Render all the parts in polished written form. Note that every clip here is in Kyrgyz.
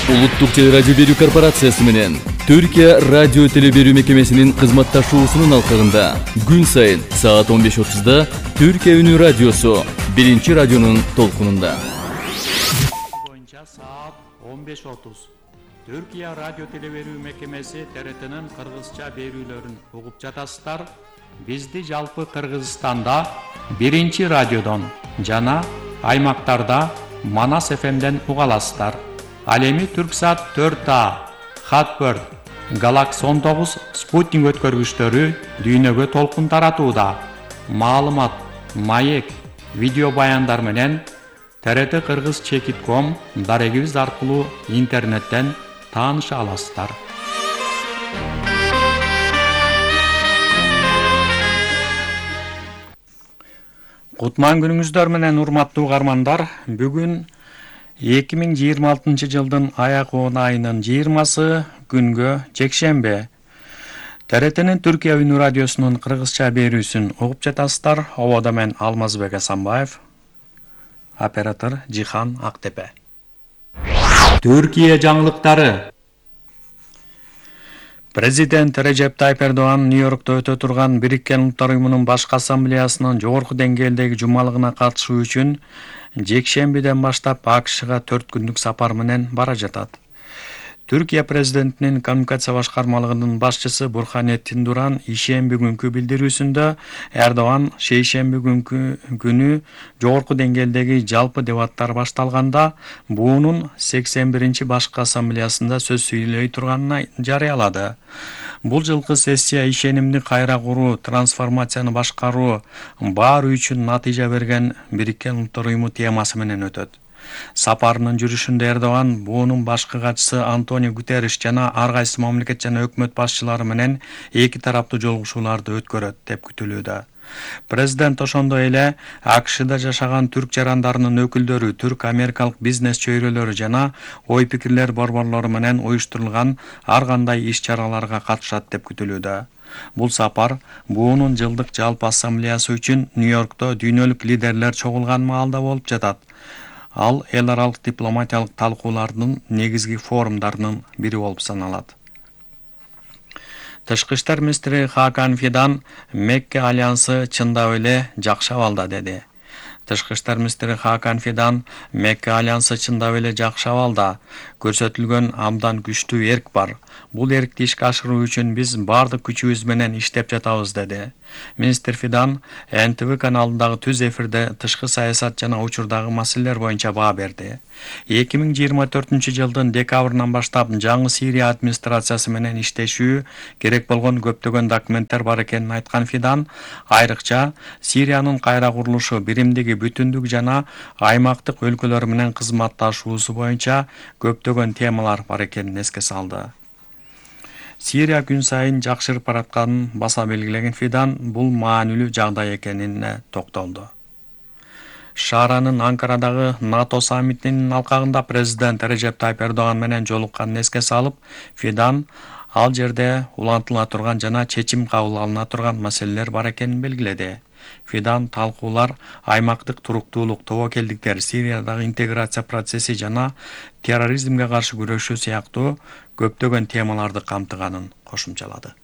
Улуттук теле радио берүү корпорациясы менен Түркия радио теле берүү мекемесинин кызматташуусунун алкагында күн сайын саат 15:30 Түркия үнү радиосу биринчи радионун толкунунда. Боюнча саат 15:30 Түркия радио теле берүү мекемеси ТРТнын кыргызча берүүлөрүн угуп жатасыздар. Бизди жалпы Кыргызстанда биринчи радиодон жана аймактарда Манас ФМден уга аласыздар. Ал эми Түрксат 4А, Хатбird, Galaxy 19 спутник өткөргүчтөрү дүйнөгө толкун таратууда. Маалымат, маек, видео баяндар менен TRT Кыргыз Чекит.com дарегибиз аркылуу интернеттен тааныша аласыздар. Кутман күнүңүздөр менен урматтуу угармандар. Бүгүн 2026 жылдын аягы айынын 20-сы күнгө жекшембе. TRTнын Түркия үнү радиосунун кыргызча берүүсүн угуп жатасыздар. Ободо мен Алмазбек Асанбаев, оператор Жихан Актепе. Түркия жаңылыктары. Президент Режеп Тайып Эрдоган Нью-Йоркто өтө турган Бириккен Улуттар Уюмунун башкы ассамблеясынын жогорку деңгээлдеги жумалыгына катышуу үчүн жекшембиден баштап АКШга 4 күндүк сапар менен бара жатат. Түркия президентинин коммуникация башкармалыгынын башчысы Бурханеттин Дуран ишемби күнкү билдирүүсүндө Эрдоган шейшемби күнү жогорку деңгээлдеги жалпы дебаттар башталганда буунун 81-чи башкы ассамблеясында сөз сүйлөй турганын жарыялады. Бул жылкы сессия ишенимди кайра куруу, трансформацияны башкаруу, баары үчүн натыйжа берген Бириккен Улуттар Уюму темасы менен өтөт. Сапарынын жүрүшүндө Эрдоган буунун башкы катчысы Антонио Гутерриш жана ар кайсы мамлекет жана өкмөт башчылары менен эки тараптуу жолугушууларды өткөрөт деп күтүлүүдө. Президент ошондой эле АКШда жашаган түрк жарандарынын өкүлдөрү, түрк-америкалык бизнес чөйрөлөрү жана ой-пикирлер борборлору менен уюштурулган ар кандай иш-чараларга катышат деп күтүлүүдө. Бул сапар буунун жылдык жалпы ассамблеясы үчүн Нью-Йоркто дүйнөлүк лидерлер чогулган маалда болуп жатат. Ал эл аралык дипломатиялык талкуулардын негизги форумдарынын бири болуп саналат. Тышкы иштер министри Хакан Фидан Мекке альянсы чындап эле жакшы абалда деди. Тышкы иштер министри Хакан Фидан Мекке альянсы чындап эле жакшы абалда. Көрсөтүлгөн абдан күчтүү эрк бар. Бул эркти ишке ашыруу үчүн биз бардык күчүбүз менен иштеп жатабыз деди. Министр Фидан НТВ каналындагы түз эфирде тышкы саясат жана учурдагы маселелер боюнча баа берди. 2024 жылдын декабрынан баштап жаңы Сирия администрациясы менен иштешүү керек болгон көптөгөн документтер бар экенин айткан Фидан, айрыкча Сириянын кайра курулушу, биримдиги, бүтүндүк жана аймактык өлкөлөр менен кызматташуусу боюнча көптөгөн темалар бар экенин эске салды. Сирия күн сайын жакшырып баратканын баса белгилеген Фидан бул маанилүү жагдай экенине токтолду. Шаранын Анкарадагы НАТО саммитинин алкагында президент Режеп Тайып Эрдоган менен жолукканын эске салып, Фидан ал жерде улантыла турган жана чечим кабыл алына турган маселелер бар экенин белгиледи. Фидан талкуулар аймактык туруктуулук, тобокелдиктер, Сириядагы интеграция процесси жана терроризмге каршы күрөшүү сыяктуу көптөгөн темаларды камтыганын кошумчалады.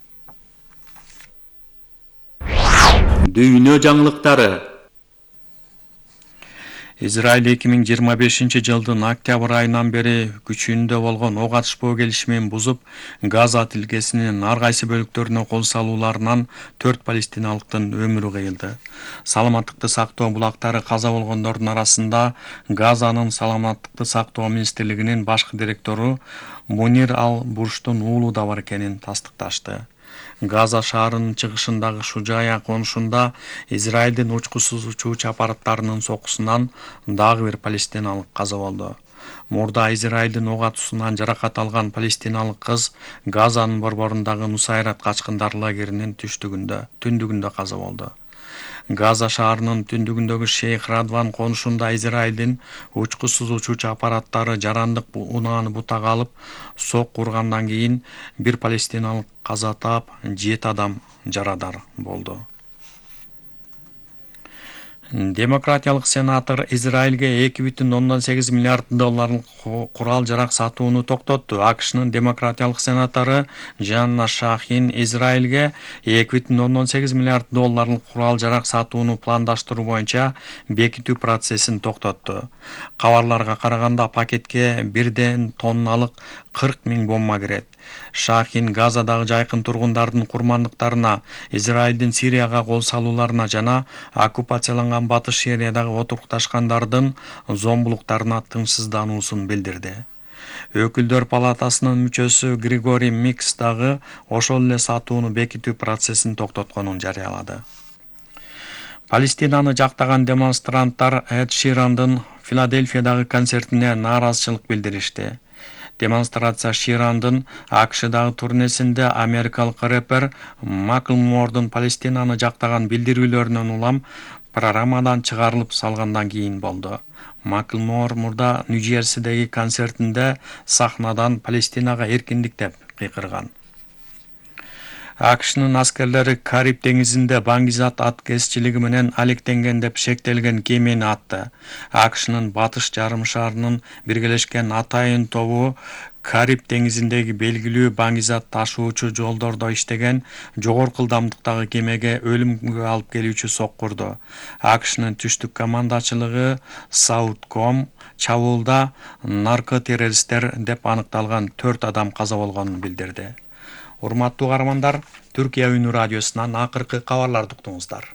Дүйнө жаңылыктары. Израиль 2025 жылдын октябрь айынан бери күчүндө болгон ок атышпоо келишимин бузуп, Газа тилкесинин ар кайсы бөлүктөрүнө кол салууларынан 4 палестиналыктын өмүрү кыйылды. Саламаттыкты сактоо булактары каза болгондордун арасында Газанын саламаттыкты сактоо министрлигинин башкы директору Мунир Ал-Бурштун уулу да бар экенин тастыкташты. Газа шаарынын чыгышындагы Шужая конушунда Израилдин учкусуз учуучу аппараттарынын сокусунан дагы бир палестиналык каза болду. Мурда Израилдин ок атуусунан жаракат алган палестиналык кыз Газанын борборундагы Нусайрат качкындар лагеринин түндүгүндө каза болду. Газа шаарынын түндүгүндөгү Шейх Радван конушунда Израилдин учкусуз учуучу аппараттары жарандык унааны бутага алып сок ургандан кийин бир палестиналык каза таап, 7 адам жарадар болду. Демократиялык сенатор Израилге $2,8 миллиард курал жарак сатууну токтотту. АКШнын демократиялык сенатору Жанна Шахин Израилге 2,8 миллиард долларлык курал жарак сатууну пландаштыруу боюнча бекитүү процессин токтотту. Кабарларга караганда пакетке 1 тонналык 40 000 бомба кирет. Шахин Газадагы жайкын тургундардын курмандыктарына, Израилдин Сирияга кол салууларына жана оккупацияланган Батыш Сириядагы отурукташкандардын зомбулуктарына тынчсыздануусун билдирди. Өкүлдөр палатасынын мүчөсү Григорий Микс дагы ошол эле сатууну бекитүү процессин токтотконун жарыялады. Палестинаны жактаган демонстранттар Эд Ширандын Филадельфиядагы концертине нааразычылык билдиришти. Демонстрация Ширандын АКШдагы турнесинде америкалык рэпер Маклмордун Палестинаны жактаган билдирүүлөрүнөн улам программадан чыгарылып салгандан кийин болду. Маклмор мурда Нью-Джерсидеги концертинде сахнадан Палестинага эркиндик деп кыйкырган. АКШнын аскерлери Кариб деңизинде баңгизат аткезчилиги менен алектенген деп шектелген кемени атты. АКШнын батыш жарым шарынын биргелешкен атайын тобу Кариб деңизиндеги белгилүү баңгизат ташуучу жолдордо иштеген жогорку ылдамдыктагы кемеге өлүмгө алып келүүчү соккурду. АКШнын түштүк командачылыгы Саутком чабуулда наркотеррористтер деп аныкталган 4 адам каза болгонун билдирди. Урматтуу каармандар, Түркия үнү радиосунан акыркы кабарларды уктуңуздар.